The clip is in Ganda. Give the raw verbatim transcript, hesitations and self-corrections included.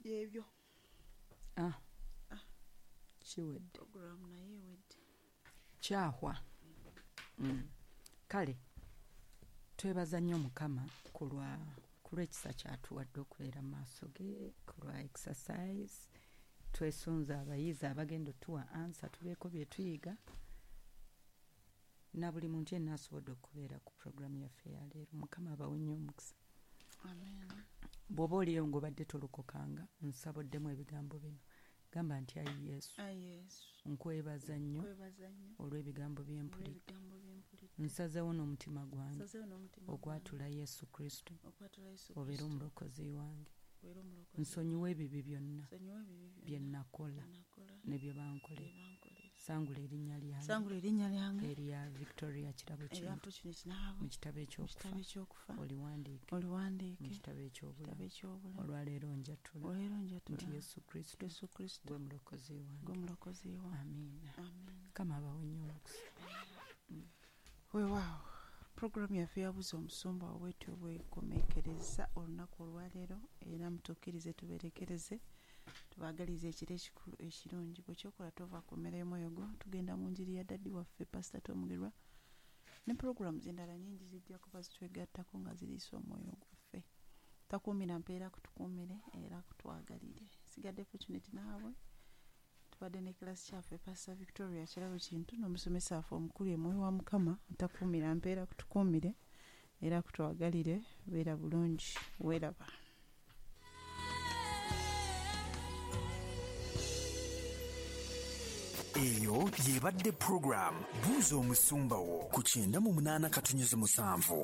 Byebyo. Ah. Kiwedde. Program naye ewedde. Kyahwa. Mm. Kale twebaza nnyo Mukama ku lwa ku lw'ekisa kyatuwadde okubeera mu maaso ge, ku lwa exercise. Twesunze abayizi abagenda otuwa answer, tubeeko bye tuyiga, na buli muntu yenna asobodde okubeera ku program yaffe ya leero. Mukama abawe nnyo omukisa. Amen. Bw'oba oliyo ng'obadde tolokokanga, nsaba oddemu ebigambo bino. Gamba nti, ayi Yesu, Ayi Yesu, nkwebaza nnyo nkwebaza nnyo olw'ebigambo bye mpulidde. olw'ebigambo bye mpulidde. Nsazeewo n'omutima gwange Nsazeewo n'omutima okwatula Yesu Kristo okwatula Yesu obeere Kristo omulokozi wange. obeere omulokozi. Nsonyiwe ebibi byonna Nsonyiwe ebibi byonna bye nakola bye nakola ne bye bankolera. bye bankolera. Sangula erinnya lyange Sangula erinnya lyange erya Victoria Kirabo erya Kintu Fortunate Nahabwe mu kitabo mu eky'okufa kitabo eky'okufa oliwandiike oliwandiike mu kitabo mu eky'obulamu. kitabo eky'obulamu. Olwaleero njatula Olwaleero njatula nti Yesu Kristo Yesu Kristo gwe mulokozi wange. gwe mulokozi wange. Amiina. Amen. Mukama abawe nnyo omukisa. Weewaawo, puroguramu yaffe yabuza omusumba bwetyo bwekomekereza olunaku olwaleero, era mutukkirize tuberekereze, tubaagalize ekiro ekikulu ekirungi. Bwekyokola tova ku mmere y'omwoyo gwo. Tugenda mu njiri ya daddy waffe Pasita Tomugerwa ne puroguramu endala nyingi zijja kuba zitwegattako nga ziriisa omwoyo gwaffe. Takuumira mpeera kutukuumire era kutwagalire. Sigadde Fortunate naabwe, tubadde ne kilasi kyaffe Pastor Victoria Kirabo Kintu n'omusomesa waffe omukulu Emwoyo wa Mukama. Takuumira mpeera kutukuumire era kutwagalire. Beera bulungi, weeraba. Eyo yebadde program Buuza Omusumba Wo ku kyenda mu munaana katunyuzi musanvu.